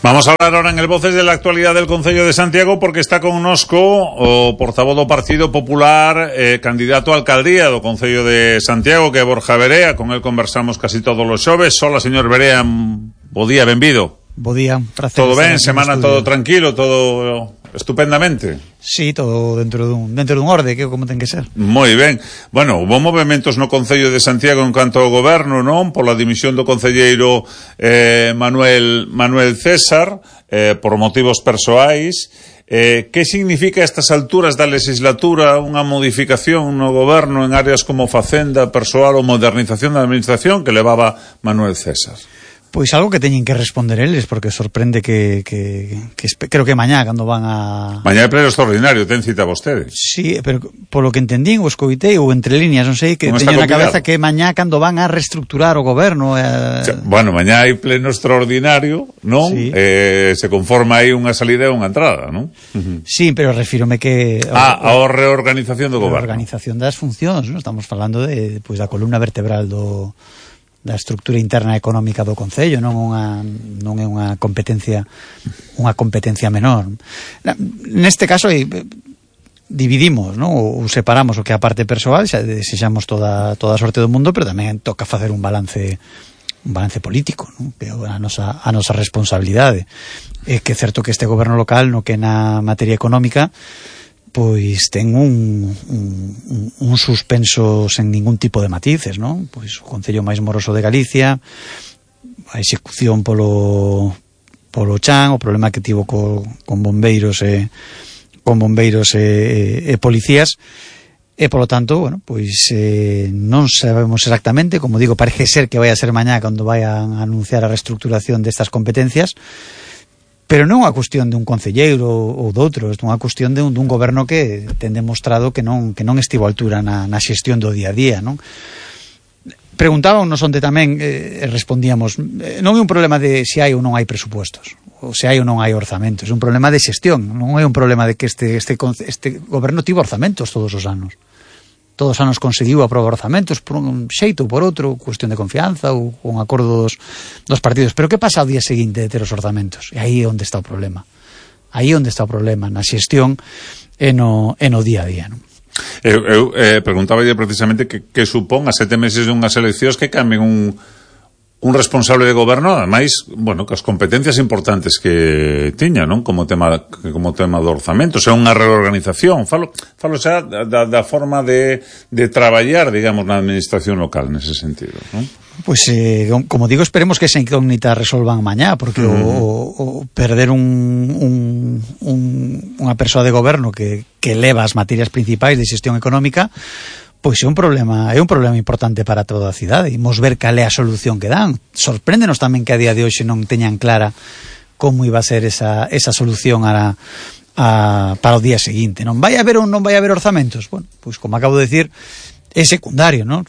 Vamos a hablar ahora en el Voces de la actualidad del Concello de Santiago, porque está connosco o portavoz do Partido Popular, candidato a alcaldía do Concello de Santiago, que é Borja Verea. Con él conversamos casi todos os xoves. Hola, señor Verea, bo día, benvido. Bo día, prazer. Todo ben, semana todo tranquilo, todo estupendamente. Sí, todo dentro dun orde, que como ten que ser. Moi ben. Bueno, hubo movementos no Concello de Santiago en canto ao goberno, non? Pola dimisión do concelleiro Manuel César, por motivos persoais. Que significa a estas alturas da legislatura unha modificación no goberno en áreas como facenda, persoal ou modernización da administración que levaba Manuel César? Pois algo que teñen que responder eles, porque sorprende que creo que mañá cando van a... Mañá é pleno extraordinario, ten cita vostedes. Sí, pero polo que entendín, o escoitei, ou entre líneas, non sei, que teño na cabeza que mañá cando van a reestructurar o goberno... Bueno, mañá hai pleno extraordinario, non? Sí. Se conforma aí unha salida e unha entrada, non? Sí, pero refírome que... A reorganización do goberno. A organización das funcións, non? Estamos falando de, pois, da columna vertebral da estructura interna económica do Concello, non é unha competencia menor. Neste caso dividimos, non? Ou separamos o que é a parte persoal, xa desexamos toda a sorte do mundo, pero tamén toca facer un balance político, non? Que é a nosa responsabilidade. É que é certo que este goberno local, no que na materia económica, pois ten un suspenso sen ningún tipo de matices, non? Pois o Concello máis moroso de Galicia, a execución polo chan, o problema que tivo con bombeiros e policías, e polo tanto, bueno, pois non sabemos exactamente, como digo, parece ser que vai a ser mañá cando vayan a anunciar a reestructuración destas competencias. Pero non é unha cuestión de un concelleiro ou doutro, é unha cuestión de un goberno que ten demostrado que non estivo a altura na xestión do día a día, non? Preguntábamos onde tamén respondíamos, non é un problema de se hai ou non hai presupuestos, ou se hai ou non hai orzamentos, é un problema de xestión, non é un problema de que este goberno tivo orzamentos todos os anos. Todos os anos conseguiu aprobar orzamentos por un xeito ou por outro, cuestión de confianza ou con acordos dos partidos. Pero que pasa ao día seguinte de ter os orzamentos? E aí é onde está o problema. Aí é onde está o problema, na xestión e no día a día, non? Eu preguntaba precisamente que supón a 7 meses de unhas eleccións que cambien un responsable de goberno, ademais, bueno, que as competencias importantes que tiña, non? Como tema do orzamento, xa unha reorganización, falo xa da forma de traballar, digamos, na administración local nese sentido, non? Pois, como digo, esperemos que esa incógnita resolvan mañá, porque o perder unha persoa de goberno que leva as materias principais de xestión económica, pois é un problema importante para toda a cidade. Imos ver cal é a solución que dan. Sorpréndenos tamén que a día de hoxe non teñan clara como iba a ser esa solución para o día seguinte. Non vai haber ou non vai haber orzamentos? Bueno, pois como acabo de decir, é secundario, non?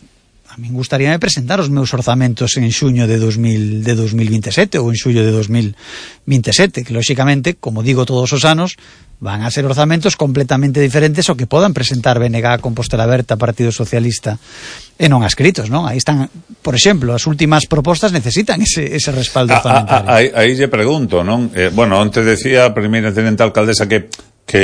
A min gustaríame presentar os meus orzamentos en xuño de 2027 ou en xullo de 2027, que lóxicamente, como digo todos os anos, van a ser orzamentos completamente diferentes ao que podan presentar BNG, Compostela Aberta, Partido Socialista e non adscritos, non? Aí están, por exemplo, as últimas propostas necesitan ese respaldo orzamentario. Aí lle pregunto, non? Bueno, onte decía a primeira tenente alcaldesa que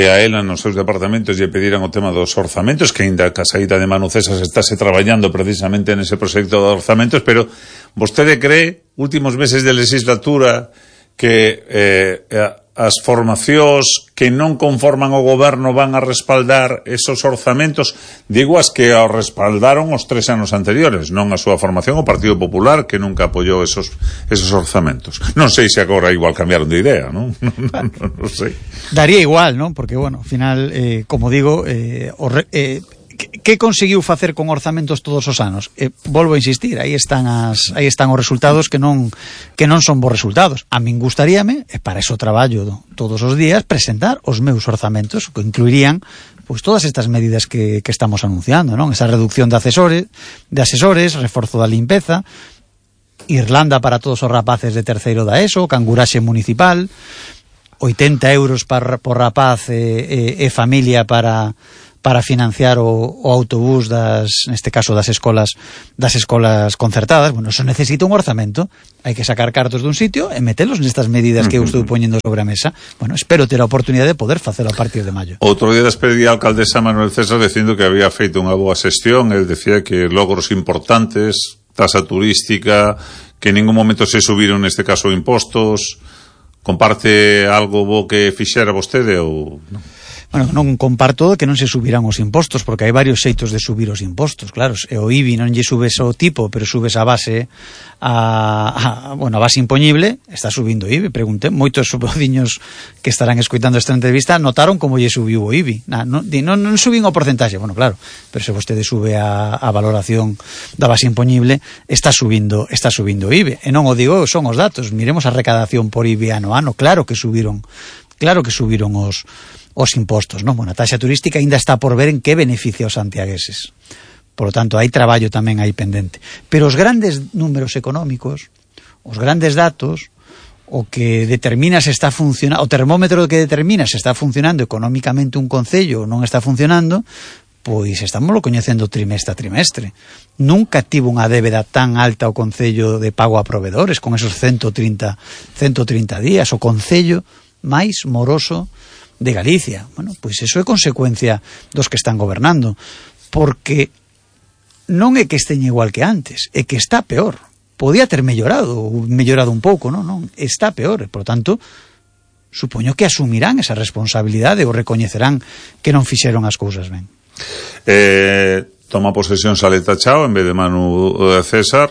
a ela nos seus departamentos lle pediran o tema dos orzamentos, que ainda a saída de Manu César estáse traballando precisamente nese proxecto de orzamentos, pero vostede cree, últimos meses de legislatura, que as formacións que non conforman o goberno van a respaldar esos orzamentos, digo as que o respaldaron os 3 anos anteriores, non a súa formación, o Partido Popular, que nunca apoyou esos orzamentos. Non sei se agora igual cambiaron de idea, non? Non sei. Daría igual, non? Porque, bueno, ao final, como digo, que conseguiu facer con orzamentos todos os anos? Volvo a insistir, aí están os resultados que non son bons resultados. A min gustaríame, e para eso traballo todos os días, presentar os meus orzamentos, que incluirían pois todas estas medidas que estamos anunciando, non? Esa reducción de asesores, reforzo da limpeza, Irlanda para todos os rapaces de terceiro da ESO, canguraxe municipal, 80 euros por rapaz e familia para para financiar o autobús neste caso das escolas concertadas. Bueno, eso necesita un orzamento, hai que sacar cartos dun sitio e metelos nestas medidas que eu estou poñendo sobre a mesa. Bueno, espero ter a oportunidade de poder facelo a partir de maio. Outro día despedía a alcaldesa Manuel César dicindo que había feito unha boa xestión. El decía que logros importantes, tasa turística, que en ningún momento se subiron neste caso impostos. Comparte algo bo que fixera vostede ou non? Bueno, non comparto que non se subirán os impostos, porque hai varios xeitos de subir os impostos, claro, e o IBI non lle subes o tipo, pero subes a base a base impoñible, está subindo o IBI. Pregunté, moitos veciños que estarán escoitando esta entrevista notaron como lle subiu o IBI. Non subín o porcentaxe, bueno, claro, pero se vostede sube a valoración da base impoñible, está subindo o IBI, e non o digo, son os datos. Miremos a recadación por IBI ano a ano, claro que subiron os impostos, non? Bueno, a taxa turística ainda está por ver en que beneficia os santiagueses. Por lo tanto, hai traballo tamén aí pendente. Pero os grandes números económicos, os grandes datos, o que determina se está funcionando, o termómetro que determina se está funcionando económicamente un concello ou non está funcionando, pois estámoslo coñecendo trimestre a trimestre. Nunca tivo unha débeda tan alta o concello de pago a provedores, con esos 130 días, o concello máis moroso de Galicia. Bueno, pois iso é consecuencia dos que están gobernando, porque non é que esteña igual que antes, é que está peor. Podía ter mellorado un pouco, non, está peor, e, por tanto, supoño que asumirán esa responsabilidade ou recoñecerán que non fixeron as cousas ben. Toma posesión Saleta Chao en vez de Manu César,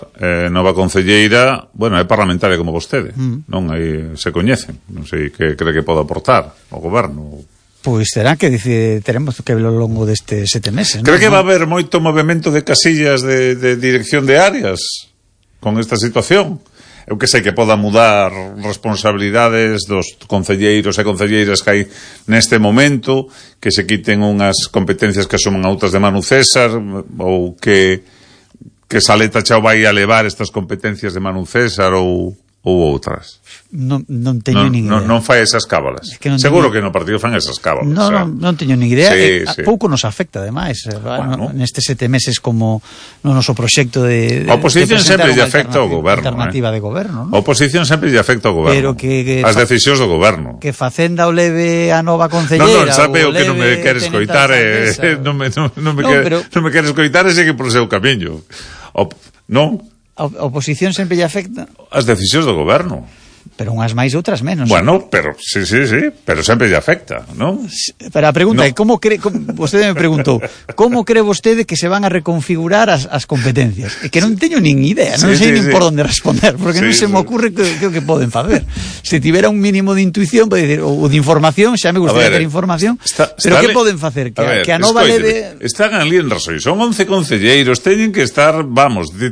nova concelleira, bueno, é parlamentaria como vostede, non? Aí se coñecen, non sei que cree que pode aportar ao goberno. Pois terá que dicir, teremos que ver ao longo destes 7 meses. Cree que va a haber moito movimento de casillas de dirección de áreas con esta situación? Eu que sei que poda mudar responsabilidades dos concelleiros e concelleiras que hai neste momento, que se quiten unhas competencias que asuman a outras de Manu César, ou que Saleta Chao vai a levar estas competencias de Manu César ou outras. Non teño nin idea. Non fai esas cábalas. Seguro que no partido fan esas cábalas. Non teño nin idea. Sí. Pouco nos afecta, ademais. Bueno, nestes 7 meses como no noso proxecto de a oposición sempre lle afecta ao goberno. Alternativa de goberno, non? A oposición sempre lle afecta ao goberno. Pero que as decisións do goberno. Que Facenda o leve a nova concelleira. Non, sabe o que non me quere escoitar, non me quere escoitar e segue por seu camiño. Non? A oposición sempre lle afecta as decisións do goberno, pero unhas máis e outras menos. Bueno, pero sí, pero sempre lle afecta, non? Pero a pregunta é, vostede me preguntou, como cree vostede que se van a reconfigurar as competencias? É que non teño nin idea, non sei nin por onde responder, porque non se me ocurre que poden facer. Se tivera un mínimo de intuición, pode decir, ou de información, xa me gustaría ter información, pero que poden facer? Que a nova leve... Están ali en Rasoy, son 11 concelleiros, teñen que estar,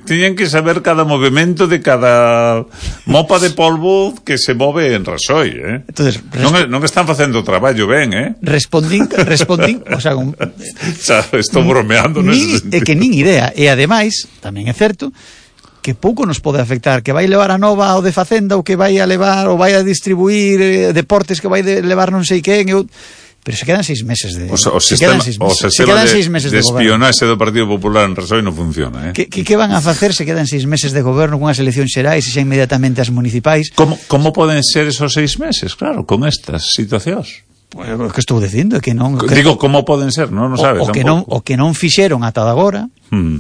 teñen que saber cada movimento de cada mopa de polvo que se move en Rasoy, Entonces, non están facendo o traballo ben, Respondín, o sea, estou bromeando nese sentido. É que nin idea, e ademais, tamén é certo que pouco nos pode afectar, que vai levar a nova ao de Facenda, ou que vai a levar, ou vai a distribuir deportes que vai levar non sei quen, pero se quedan 6 meses de... O sistema de espionaxe do Partido Popular en Rasoy non funciona, Que van a facer se quedan 6 meses de goberno con as eleccións xerais e xa inmediatamente as municipais? Como poden ser esos 6 meses, claro, con estas situacións? Pues, que estou dicindo que non... Digo, como poden ser, non sabes? O que non fixeron ata agora,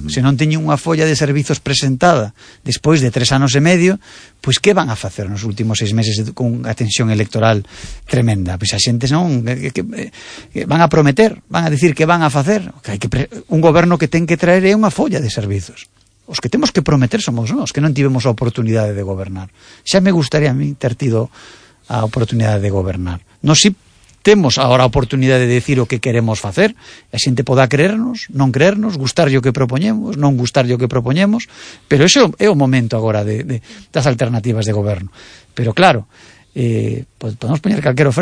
se non teñen unha folla de servizos presentada despois de 3 anos e medio, pois que van a facer nos últimos 6 meses con a tensión electoral tremenda? Pois a xente non... van a prometer, van a dicir que van a facer. Un goberno que ten que traer é unha folla de servizos. Os que temos que prometer somos nós, que non tivemos a oportunidade de gobernar. Xa me gustaría a mí ter tido a oportunidade de gobernar. Nós si temos agora a oportunidade de decir o que queremos facer, a xente poda creernos, non creernos, gustarlle o que propoñemos, non gustarlle o que propoñemos, pero ese é o momento agora das alternativas de goberno. Pero claro, podemos poñer calquera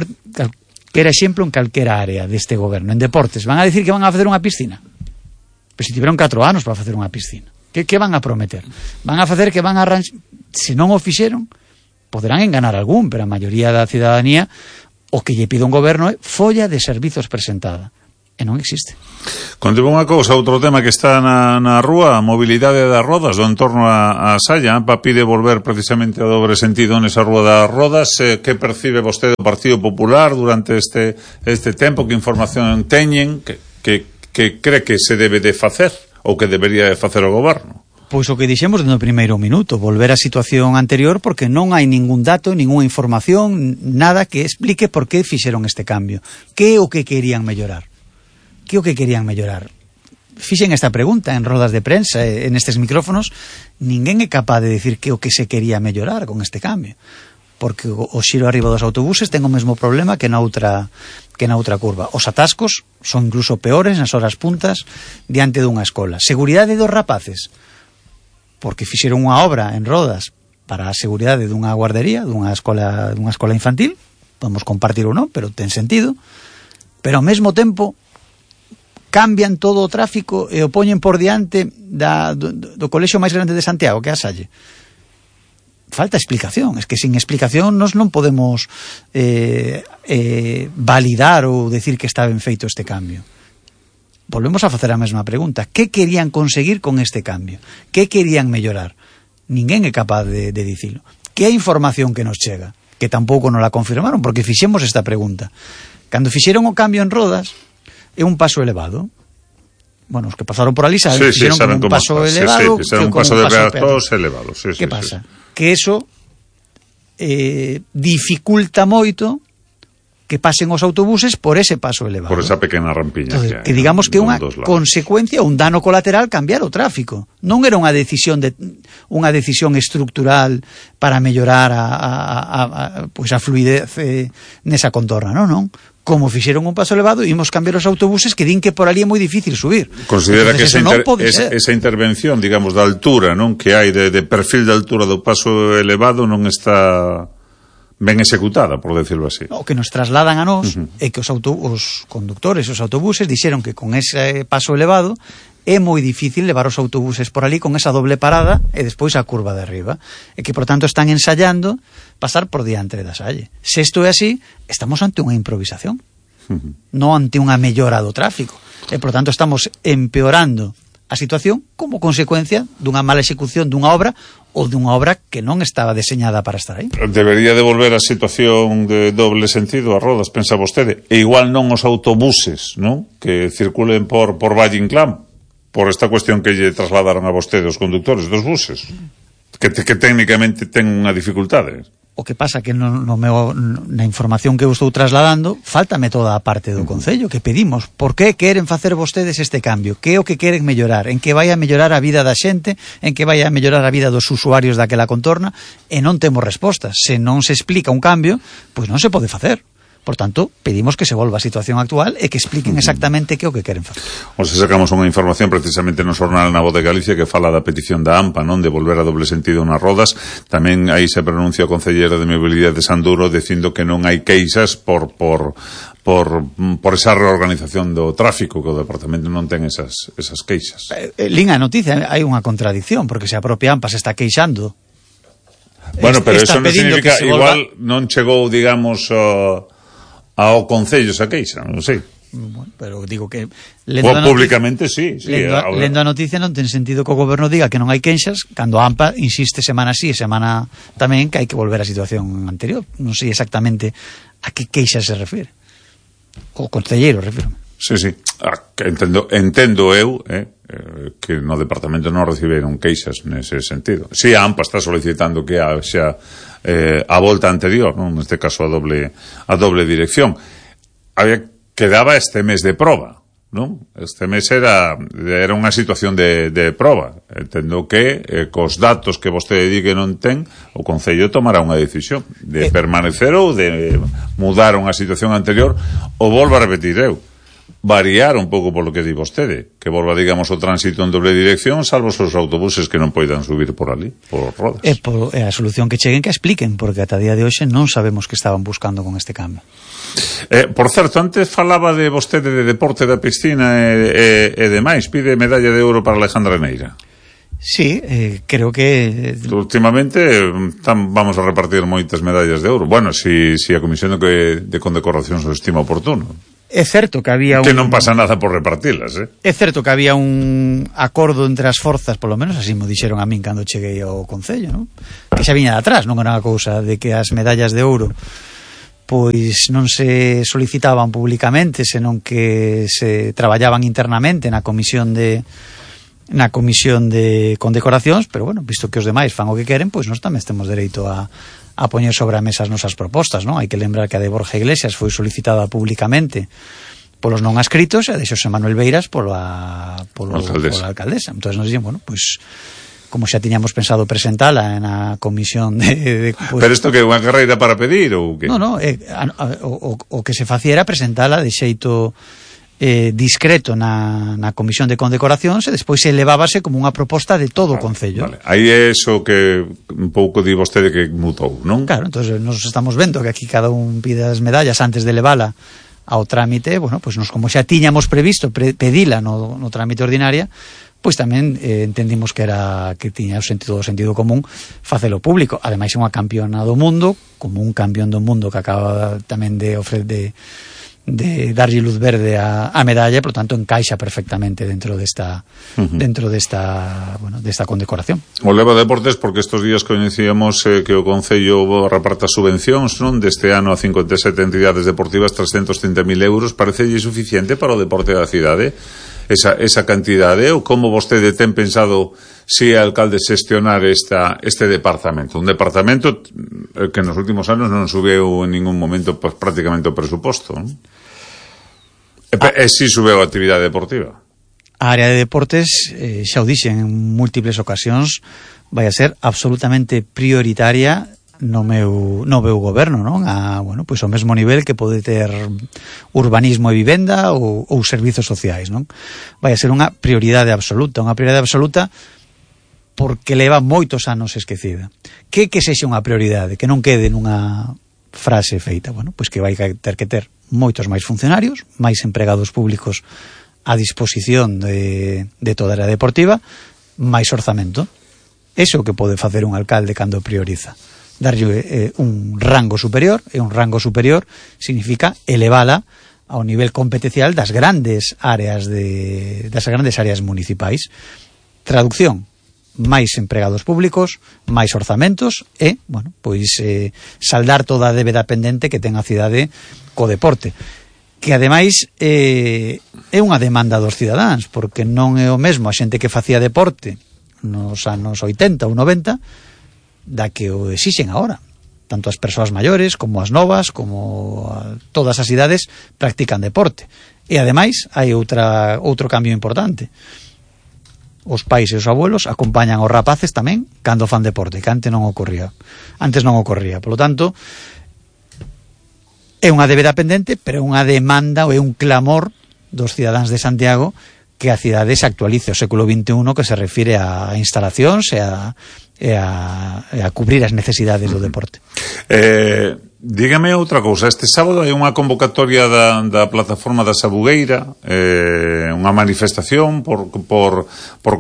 exemplo en calquera área deste goberno. En deportes, van a decir que van a facer unha piscina, pero se tiveron 4 anos para facer unha piscina. Que van a prometer? Van a facer que van a arranxar... Se non o fixeron, poderán enganar algún, pero a maioría da cidadanía o que lle pide un goberno é folla de servizos presentada. E non existe. Contigo unha cousa, outro tema que está na rúa, a mobilidade das rodas do entorno a Salla. AMPA pide volver precisamente ao dobre sentido nesa rúa das rodas. Que percibe vostede do Partido Popular durante este tempo? Que información teñen? Que cree que se debe de facer ou que debería de facer o goberno? Pois o que dixemos no primeiro minuto, volver á situación anterior, porque non hai ningún dato, ninguna información, nada que explique por que fixeron este cambio. Que é o que querían mellorar? Que é o que querían mellorar? Fixen esta pregunta en rodas de prensa, en estes micrófonos, ninguén é capaz de decir que é o que se quería mellorar con este cambio. Porque o xiro arriba dos autobuses ten o mesmo problema que na outra curva. Os atascos son incluso peores nas horas puntas diante dunha escola. Seguridade dos rapaces, porque fixeron unha obra en rodas para a seguridade dunha guardería, dunha escola infantil, podemos compartir ou non, pero ten sentido, pero ao mesmo tempo cambian todo o tráfico e o poñen por diante do colexio máis grande de Santiago, que é a Salle. Falta explicación, es que sin explicación nos non podemos validar ou decir que está ben feito este cambio. Volvemos a facer a mesma pregunta. Que querían conseguir con este cambio? Que querían mellorar? Ninguén é capaz de dicilo. Que é a información que nos chega? Que tampouco nos la confirmaron, porque fixemos esta pregunta. Cando fixeron o cambio en rodas, é un paso elevado. Bueno, os que pasaron por ali saben, fixeron como un paso elevado. Fixeron un paso de peatóns elevado. Que pasa? Que eso dificulta moito que pasen os autobuses por ese paso elevado. Por esa pequena rampiña. Entonces, que digamos que é unha consecuencia, un dano colateral cambiar o tráfico. Non era unha decisión estructural para mellorar a fluidez nesa contorna, non? Como fixeron un paso elevado, imos cambiar os autobuses que din que por ali é moi difícil subir. Considera que esa intervención, digamos, da altura, non, que hai de perfil de altura do paso elevado non está ben executada, por decirlo así. O que nos trasladan a nós é que os conductores, os autobuses, dixeron que con ese paso elevado é moi difícil levar os autobuses por ali con esa doble parada e despois a curva de arriba. E que, por tanto, están ensayando pasar por diante da Salle. Se isto é así, estamos ante unha improvisación, non ante unha mellora do tráfico. E, por tanto, estamos empeorando a situación como consecuencia dunha mala execución dunha obra ou dunha obra que non estaba deseñada para estar aí. Debería devolver a situación de doble sentido a rodas, pensa vostede, e igual non os autobuses, non? Que circulen por Valle Inclán, por esta cuestión que lle trasladaron a vostede os conductores dos buses, que técnicamente ten unha dificultade. O que pasa que na información que eu estou trasladando faltame toda a parte do Concello que pedimos. Por que queren facer vostedes este cambio? Que é o que queren mellorar? En que vai a mellorar a vida da xente? En que vai a mellorar a vida dos usuarios daquela contorna? E non temos respostas. Se non se explica un cambio, pois non se pode facer. Por tanto, pedimos que se volva a situación actual e que expliquen exactamente que é o que queren facer. Os sacamos unha información precisamente no xornal Na Voz de Galicia que fala da petición da AMPA, non, de volver a doble sentido nas rodas. Tamén aí se pronuncia o concelleiro de Mobilidade de Sanduro dicindo que non hai queixas por esa reorganización do tráfico, que o departamento non ten esas queixas. Lin a noticia, hai unha contradicción, porque se a propia AMPA se está queixando. Bueno, pero eso non significa, igual non chegou, digamos, ao Concello esa queixa, non sei. Bueno, pero digo que públicamente sí. Lendo a noticia non ten sentido que o goberno diga que non hai queixas cando a AMPA insiste semana sí e semana tamén que hai que volver á situación anterior. Non sei exactamente a que queixas se refire. O concelleiro, refiro. Sí. Entendo eu que no departamento non reciberon queixas nese sentido. Si a AMPA está solicitando que haxa a volta anterior, non? Neste caso a doble dirección. Quedaba este mes de proba, non? Este mes era unha situación de proba. Entendo que cos datos que vostede di que non ten, o Concello tomará unha decisión de permanecer ou de mudar unha situación anterior, ou volvo a repetir eu, variar un pouco polo que di vostede, que volva, digamos, o tránsito en doble dirección, salvo os autobuses que non poidan subir por ali, por rodas. É a solución que cheguen que expliquen, porque ata día de hoxe non sabemos que estaban buscando con este cambio. Por certo, antes falaba de vostede de deporte da piscina e demais, pide medalla de ouro para Alejandra Neira. Sí, creo que últimamente vamos a repartir moitas medallas de ouro. Bueno, si a Comisión de Condecoracións o estima oportuno. É certo que había que non pasa nada por repartilas, É certo que había un acordo entre as forzas, polo menos así mo dixeron a min cando cheguei ao Concello, non? Que xa viña de atrás, non era unha cousa de que as medallas de ouro pois non se solicitaban públicamente, senón que se traballaban internamente na comisión de condecoracións, pero bueno, visto que os demais fan o que queren, pois nós tamén temos dereito a poñer sobre a mesa as nosas propostas, non? Hai que lembrar que a de Borja Iglesias foi solicitada públicamente polos non ascritos e a de Xosé Manuel Beiras pola alcaldesa. Entón nos dixen, bueno, pois como xa tiñamos pensado presentala na comisión pues, pero isto que é unha carreira para pedir ou que? Non, o que se facía era presentala de xeito discreto na comisión de condecoracións e despois se elevábase como unha proposta de todo o Concello. Vale. Aí é eso que un pouco di vostede que mutou, non? Claro, entonces nos estamos vendo que aquí cada un pide as medallas antes de levala ao trámite, bueno, pois nos como xa tiñamos previsto pedila no trámite ordinaria, pois tamén entendimos que tiña o sentido común facelo público. Ademais é unha campeona do mundo, como un campeón do mundo que acaba tamén de darlle luz verde a medalla, por tanto encaixa perfectamente dentro desta condecoración. O leva deportes porque estes días coñecíamos que o Concello reparta subvencións, non, deste ano a 57 entidades deportivas, 330.000 euros. Parecelle suficiente para o deporte da cidade esa cantidade, ou como vostede ten pensado si alcalde xestionar este departamento? Un departamento que nos últimos anos non subeu en ningún momento pues, prácticamente o presuposto, non? E si subeu a actividade deportiva? A área de deportes, xa o dixen en múltiples ocasións, vai a ser absolutamente prioritaria no meu goberno, non? Bueno, pois ao mesmo nivel que pode ter urbanismo e vivenda ou servizos sociais, non? Vai a ser unha prioridade absoluta porque leva moitos anos esquecida. Que sexa unha prioridade, que non quede nunha frase feita, bueno, pois que vai ter que ter moitos máis funcionarios, máis empregados públicos a disposición de toda a área deportiva, máis orzamento. Eso que pode facer un alcalde cando prioriza. Darlle un rango superior, e un rango superior significa elevala ao nivel competencial das grandes áreas municipais. Traducción: máis empregados públicos, máis orzamentos e, bueno, pois saldar toda a débeda pendente que ten a cidade co deporte, que ademais é unha demanda dos cidadáns, porque non é o mesmo a xente que facía deporte nos anos 80 ou 90 da que o exixen agora. Tanto as persoas maiores como as novas, como todas as idades practican deporte. E ademais hai outro cambio importante. Os pais e os abuelos acompañan os rapaces tamén cando fan deporte, que antes non ocorría. Por lo tanto, é unha débeda pendente, pero é unha demanda ou é un clamor dos cidadáns de Santiago que a cidade se actualice ao século XXI, que se refire a instalacións e a cubrir as necesidades do deporte. Dígame outra cousa. Este sábado hai unha convocatoria da plataforma da Sabugueira, unha manifestación por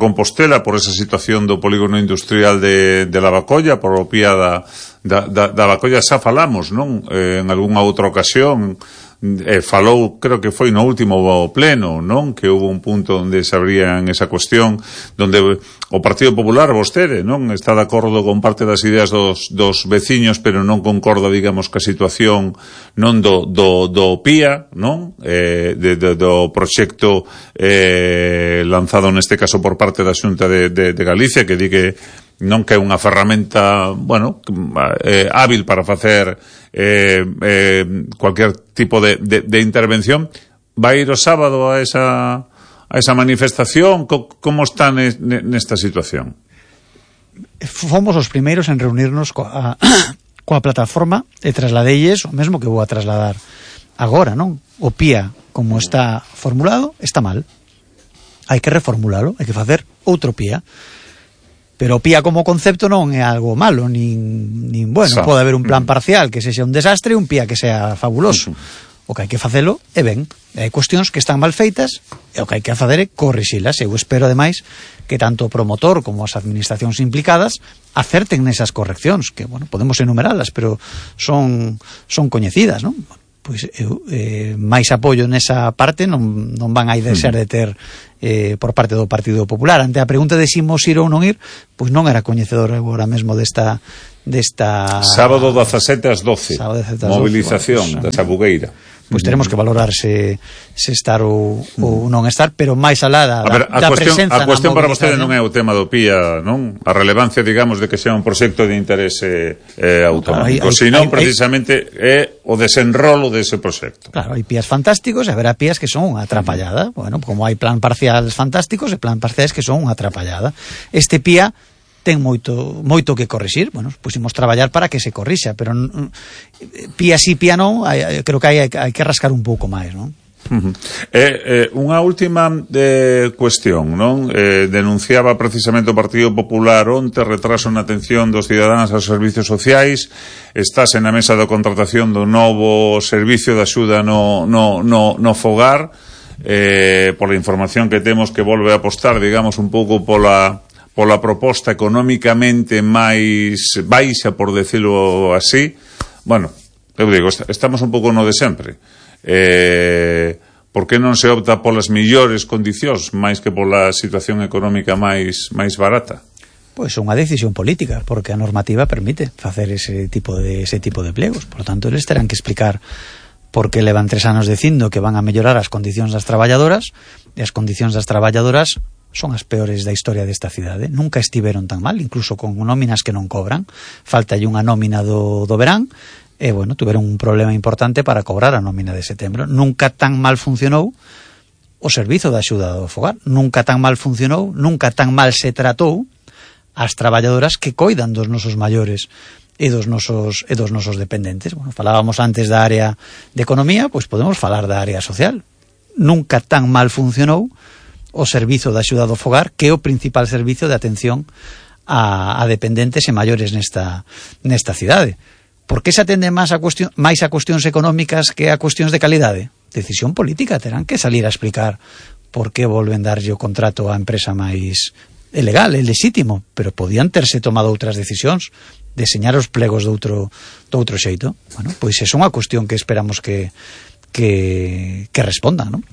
Compostela, por esa situación do polígono industrial de Lavacolla, por o pía da Lavacolla. Xa falamos, non? En algunha outra ocasión falou, creo que foi no último pleno, non? Que hubo un punto onde se abrían esa cuestión, donde o Partido Popular, vostede, non? Está de acordo con parte das ideas dos veciños, pero non concorda, digamos, ca situación non do PIA, non? Do proxecto lanzado neste caso por parte da Xunta de Galicia, que di que non que é unha ferramenta, bueno, hábil para facer cualquier tipo de intervención. Vai ir o sábado a esa manifestación? Como está nesta situación? Fomos os primeiros en reunirnos coa plataforma e trasladelles o mesmo que vou a trasladar agora, non? O PIA, como está formulado, está mal. Hai que reformulalo, hai que facer outro PIA. Pero o PIA como concepto non é algo malo, nin bueno, pode haber un plan parcial que sexa un desastre e un PIA que sea fabuloso. O que hai que facelo é ben. Hai cuestións que están mal feitas e o que hai que facer é corrixilas. Eu espero, ademais, que tanto o promotor como as administracións implicadas acerten nesas correccións, que, bueno, podemos enumeralas, pero son coñecidas, non? pois eu máis apoio nesa parte non van a desear de ter por parte do Partido Popular. Ante a pregunta de si imos ir ou non ir, pois non era coñecedor agora mesmo desta sábado 17 ás 12 movilización da Sabugueira. Pois teremos que valorar se estar ou non estar, pero máis alá da presenza. A cuestión para vostede non é o tema do PIA, non? A relevancia, digamos, de que sea un proxecto de interese autonómico, senón precisamente é o desenrolo dese proxecto. Claro, hai PIAs fantásticos e haberá PIAs que son unha atrapallada. Bueno, como hai plan parciales fantásticos e plan parciales que son unha atrapallada. Este PIA ten moito que corrixir. Bueno, pusimos traballar para que se corrixa, pero pía sí, pía non, creo que hai que rascar un pouco máis, non? Unha última cuestión, non? Denunciaba precisamente o Partido Popular onte retraso na atención dos cidadáns aos servicios sociais. Estás na mesa da contratación do novo servicio de axuda no fogar, pola información que temos, que volve a apostar, digamos, un pouco pola proposta económicamente máis baixa, por decirlo así. Bueno, eu digo, estamos un pouco no de sempre. Por que non se opta polas millores condicións máis que pola situación económica máis barata? Pois unha decisión política, porque a normativa permite facer ese tipo de plegos. Por lo tanto, eles terán que explicar por que levan 3 anos dicindo que van a mellorar as condicións das traballadoras, e as condicións das traballadoras son as peores da historia desta cidade. Nunca estiveron tan mal, incluso con nóminas que non cobran. Faltalle unha nómina do verán, e, bueno, tuveron un problema importante para cobrar a nómina de setembro. Nunca tan mal funcionou o servizo de axuda do fogar. Nunca tan mal funcionou, nunca tan mal se tratou as traballadoras que coidan dos nosos maiores e dos nosos dependentes. Bueno, falábamos antes da área de economía, pois podemos falar da área social. Nunca tan mal funcionou o servizo de axuda do fogar, que é o principal servizo de atención a dependentes e maiores nesta cidade. Por que se atende máis a cuestións económicas que a cuestións de calidade? Decisión política. Terán que salir a explicar por que volven darlle o contrato á empresa máis legal, é legítimo, pero podían terse tomado outras decisións, deseñar os plegos de outro xeito. Bueno, pois é unha cuestión que esperamos que respondan, non?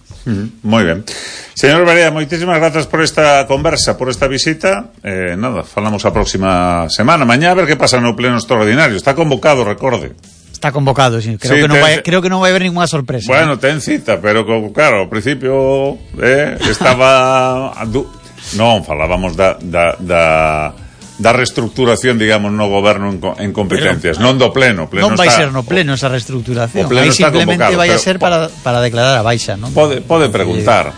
Moi ben. Señor Barea, moitísimas grazas por esta conversa, por esta visita. Nada, falamos a próxima semana. Mañá a ver que pasa no pleno extraordinario. Está convocado, recorde. Está convocado, sí. Creo que non vai haber ninguna sorpresa. Bueno, ten cita, pero claro, ao principio estaba... Non, falábamos da reestructuración, digamos, no goberno en competencias, non do pleno. Non vai ser no pleno esa reestructuración. Aí simplemente vai a ser para declarar a baixa, non? Pode preguntar.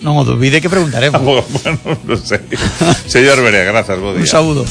Non o dubide que preguntaremos. Bueno, non sei. Señor Barea, grazas, bo día. Un saúdo.